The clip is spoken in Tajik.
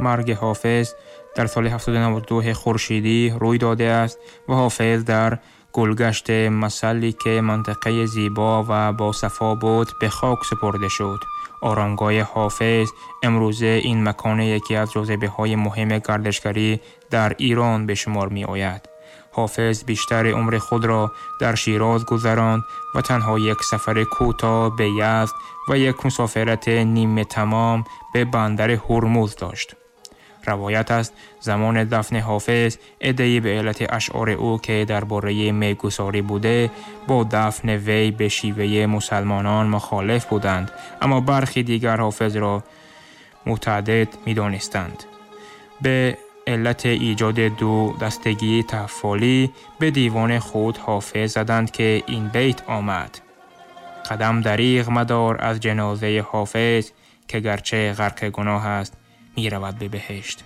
Марги Ҳофиз дар соли 792 хуршедӣ рӯй додааст ва Ҳофиз дар гулгашти Масалле, ки минтақаи зебо ва босафо буд, ба хок супурда шуд. Оромгоҳи Ҳофиз имрӯза ин макон яке аз ҷозибаҳои муҳими гардишгарӣ дар Эрон ба шумор меояд. Ҳофиз бештари умри худро дар Шероз гузаронд ва танҳо як сафари кӯтоҳ ба Язд ва як мусофирати ниматамом ба бандари Ҳурмуз дошт. Ривоят аст, замони дафни Ҳофиз аддае ба иллати ашъори ӯ, ки дар бораи мегусорӣ буда, бо дафни вай ба шеваи мусулмонон мухолиф буданд, аммо бархе дигар Ҳофизро муътадид медонистанд. Ба иллати эҷоди ду дастагии таффолӣ ба девони худ Ҳофиз заданд, ки ин байт омад: қадам дареғ мадор аз ҷанозаи Ҳофиз, ки гарчи ғарқи гуноҳ аст, меравад ба биҳишт.